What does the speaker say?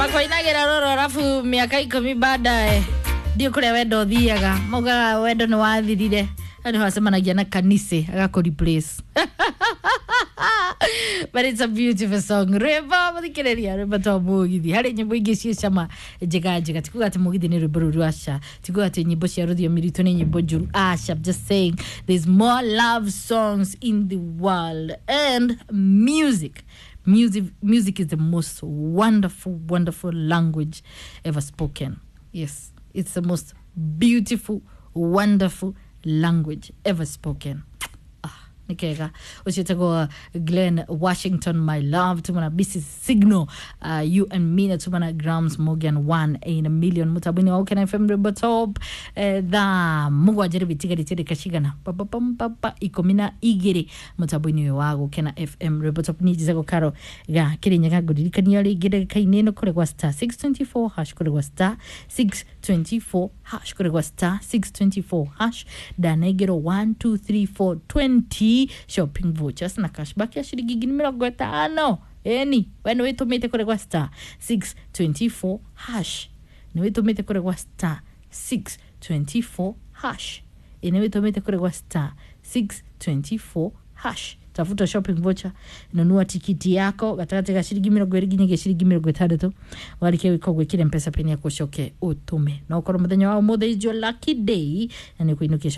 Makoinagira roro arafu miaka 10 baadaye ndio kuria wendo ũthiaga, maugaga wendo nĩ wathirire, nĩ wacemanagia na kanise agakũ replace. But it's a beautiful song. Rwĩmbo mũthikĩrĩria, rwĩmbo twa mũgithi. Harĩ nyĩmbo ingĩ ciĩ cama njega njega. Tikuga atĩ mũgithi nĩ rwĩmbo rũru, aca. Tikuga atĩ nyĩmbo cia rũthiomi rwitũ nĩ nyĩmbo njũru, aca. I'm just saying there's more love songs in the world, and music music music is the most wonderful, wonderful language ever spoken. Yes, it's the most beautiful, wonderful language ever spoken. Ah, nĩ kega. Ũcio tagwo Glenn Washington, "My Love." Tumana bc Signal, "You and Me", na tumana Grams Morgan, "One in a Million", mutabwini wa Ukena FM Rwimbo Top. Thaa 7 rĩu itigarĩtie ndĩka cigana papapapapa 12 mutabwini ũyũ wa Gũkena FM Rwimbo Top. Niĩ njĩtagwo Karo ga Kĩrĩnyaga, ngũririkania rĩngĩ ndagĩka-inĩ ĩno kũrĩ gwa star 624 hash, kũrĩ gwa star 624 hash, kũrĩ gwa star 624 hash. Ndanengerwo 1 2 3 4 20 shopping vouchers na cashback ya ciringi 50,000. Eni we nĩ wĩtũmĩte kũrĩ gwa star 624 hash? Nĩ wĩtũmĩte kũrĩ gwa star 624 hash? Ĩ nĩ wĩtũmĩte kũrĩ gwa star 624 hash? Tafuta shopping voucher, nunua tikiti yako gatagatĩ ga ciringi 20 nginyagia ciringi 60. Warĩkia gwĩka ũguo, ĩkĩra Mpesa pin yaku, ũcoke ũtũme. No ũkorwo mũthenya wa ũmũthĩ is your lucky day na nĩ ũkũinũkia.